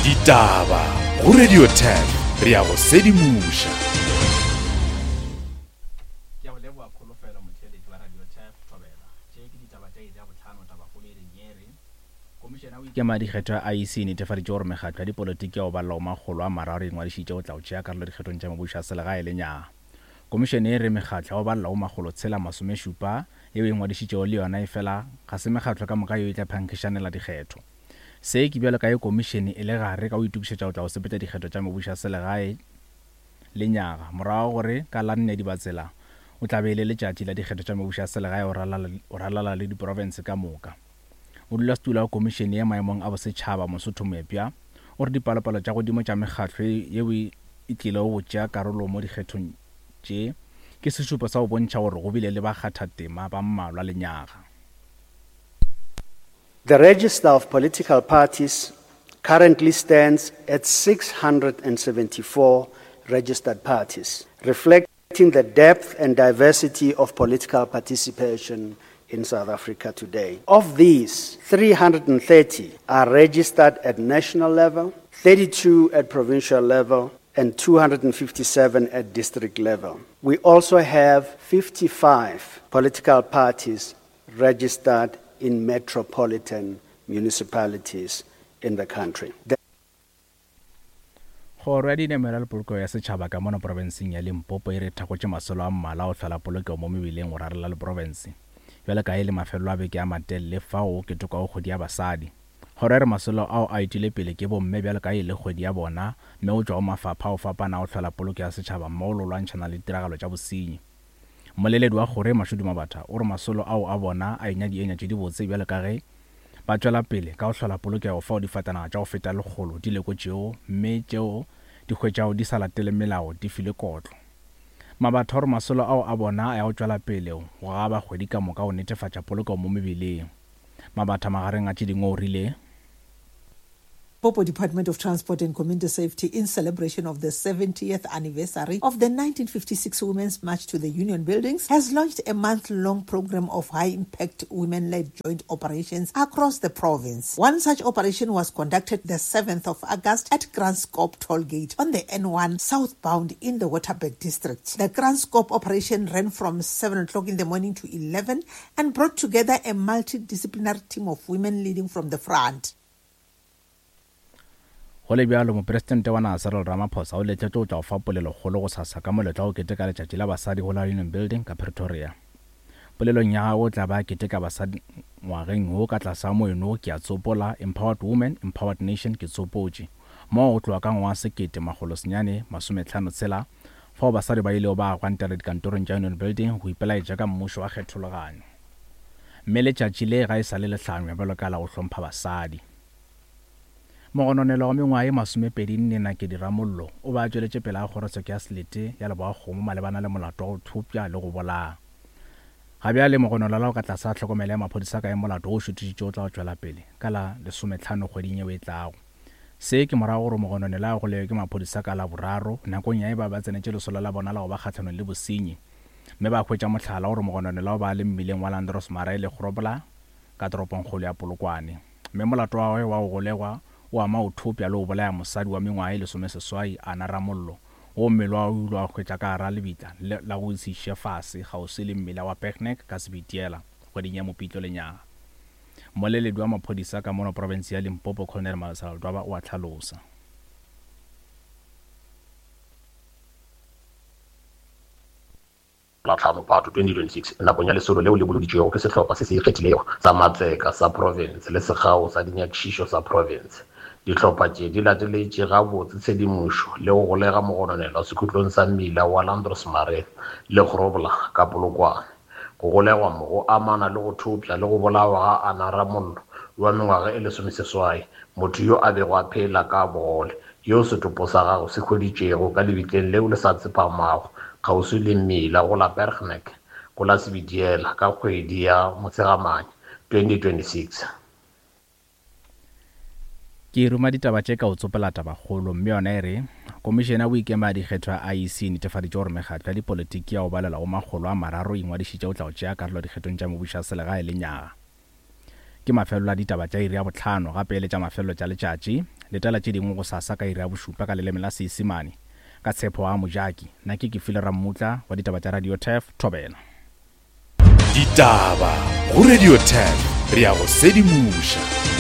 Ditaba go Radio 10 re ya go sedimoša. Ke a go leboga Kholofelo motheeletši wa Radio Turf Thobela. Tše ke ditaba tša iri ya bohlano tabakgolo e reng ye re, Komišene ya go Ikema Dikgetho ya IEC e netefaditše gore mekgatlo ya dipolotiki ya go balela go makgolo a mararo e ingwadišitše go tla go tšea karolo dikgethong tša mebušo ya selegae lenyaga. Komišene e re mekgatlo ya go balela go makgolo tshela masomešupa yeo e ingwadišitšego le yona efela ga se mekgatlo ka moka yeo e tla phankgišanela dikgetho. Se ke bjalo ka ge komišene e le gare ka go itokišetša go tla go sepetša dikgetho tša mebušo ya selegae lenyaga morago ga gore ka la nne Dibatsela o tla be e le letšatši la dikgetho tša mebušo ya selegae go ralala le diprofense ka moka. Modulasetulo wa komišene ye maemong a bosetšhaba Mosotho Moepya o re dipalopalo tša godimo tša mekgatlo yeo e tlilego go tšea karolo mo dikgethong tše ke sešupo sa go bontšha gore go bile le bakgathatema ba mmalwa lenyaga. The register of political parties currently stands at 674 registered parties, reflecting the depth and diversity of political participation in South Africa today. Of these, 330 are registered at national level, 32 at provincial level, and 257 at district level. We also have 55 political parties registered in metropolitan municipalities in the country. The Kgoro ya Dinamela le Polokego ya Setšhaba ka mono profenseng ya Limpopo e re thakgotše masolo a mmalwa a go hlola polokego mo mebileng go rarela le profense. Bjalo ka e le mafelelo a beke a matelele fao go ketekwago kgwedi ya basadi. Kgoro e re masolo ao a etilwe pele ke bomme bjalo ka e le kgwedi ya bona mme go tšwa go mafapha a go fapana a go hlola polokego ya setšhaba mmogo le go lwantšhana le ditiragalo tša bosenyi. Mmoleledi wa kgoro ye Mashudu Mabatha o re masolo ao a bona a enya dienya tše dibotse bjalo ka ge ba tšwela pele ka go hlola polokego fao difatanaga tša go feta lekgolo di lekotšego mme tšeo di hwetšago di sa latele melao di filwe kotlo. Mabatha o re masolo ao a bona a ya go tšwela pele go gaba kgwedi ka moka go netefatša polokego mo mebileng. Mabatha magareng a tše dingwe o rile. Limpopo Department of Transport and Community Safety in celebration of the 70th anniversary of the 1956 Women's March to the Union Buildings has launched a month-long program of high-impact women-led joint operations across the province. One such operation was conducted the 7th of August at Kranskop Tollgate on the N1 southbound in the Waterberg district. The Kranskop operation ran from 7 o'clock in the morning to 11 and brought together a multidisciplinary team of women leading from the front. Go le bjalo, Mopresidente wa naga Cyril Ramaphosa o letletšwe go tla go fa polelokgolo gosasa ka moletlo wa go keteka Letšatši la Basadi go la Union Building ka Pretoria. Polelong ya gagwe o tla ba a keteka basadi ngwageng wo ka tlase ga moeno wo Ke a Tsopola, Empowered Women, Empowered Nation, Ke Tsopotše, moo go tloga ka ngwaga wa 1956 fao basadi ba ilego ba gwantela dikantorong tša Union Building go ipelaetša ka mmušo wa kgethologanyo. Mme letšatši le ga e sa le le hlangwa bjalo ka la go hlompha basadi. Mogononelwa wa mengwaga ye masomepedi nne Nakedi Ramollo o be a tšweletše pele ga kgorotsheko ya selete ya Leboakgomo malebana le molato wa go thopša le go bolaya. Ga bjale mogononelwa o ka tlase ga tlhokomelo ya maphodisa ka ge molato wo o šuthišitšwe o tla go tšwela pele ka la lesometlhano kgweding yeo e tlago. Se ke morago gore mogononelwa a golegwe ke maphodisa ka Laboraro nakong ya ge ba be ba tsenetše lesolo la bona la go ba kgahlanong le bosenyi mme ba hwetša mohlala gore mogononelwa o be a le mmileng wa Landros Marais le Grobler ka toropongkgolo ya Polokwane. Mme molato wa gagwe wa go golegwa o ama go thopša le go bolaya mosadi wa mengwaga ye lesomeseswai, Ana Ramollo, woo mmele wa gagwe o ile wa hwetša ka gara lebitla la go se iše fase kgauswi le mmila wa Bergnek ka Sebitiela kgweding ya Mopitlo lenyaga. Mmoleledi wa maphodisa ka mono profense ya Limpopo Colonel Malesela Ledwaba o a hlalosa. La tlhano Phato 2026, nakong ya lesolo leo le boloditšwego ke sehlopha se se ikgethilego sa matseka sa profense le sekgao sa dinyakišišo sa profense. Dihlopha tše di lateletše gabotse tshedimošo le go golega mogononelwa sekhutlong sa mmila wa Landros Marais le Grobler ka Polokwane. Go golegwa mo go amana le go thopša le go bolawa ga Anna Ramollo wa mengwaga e lesomeseswai, motho yo a bego a phela ka bogole, yo setopo sa gagwe se hweditšwego ka lebitleng leo le sa tsepamago kgauswi le mmila go la Bergnek go la Sebediela ka kgwedi ya Motshegamanya 2026. Ke ruma ditaba tše ka go tsopela tabakgolo mme yona e re, Komišene ya Boikemo ya Dikgetho ya IEC e netefaditše gore mekgatlo ya dipolotiki ya go balelwa go makgolo a mararo e ingwadišitše go tla go tšea karolo dikgethong tša mebušo ya selegae lenyaga. Ke mafelelo a ditaba tša iri ya bohlano gape e le tša mafelelo tša letšatši. Letela tše dingwe gosasa ka iri ya bošupa ka leleme la Seisemane. Ka tshepo a Mojaki. Nna ke Kefile Rammutla wa ditaba tša Radio Turf, Thobela. Ditaba go Radio Turf, re a go sedimoša.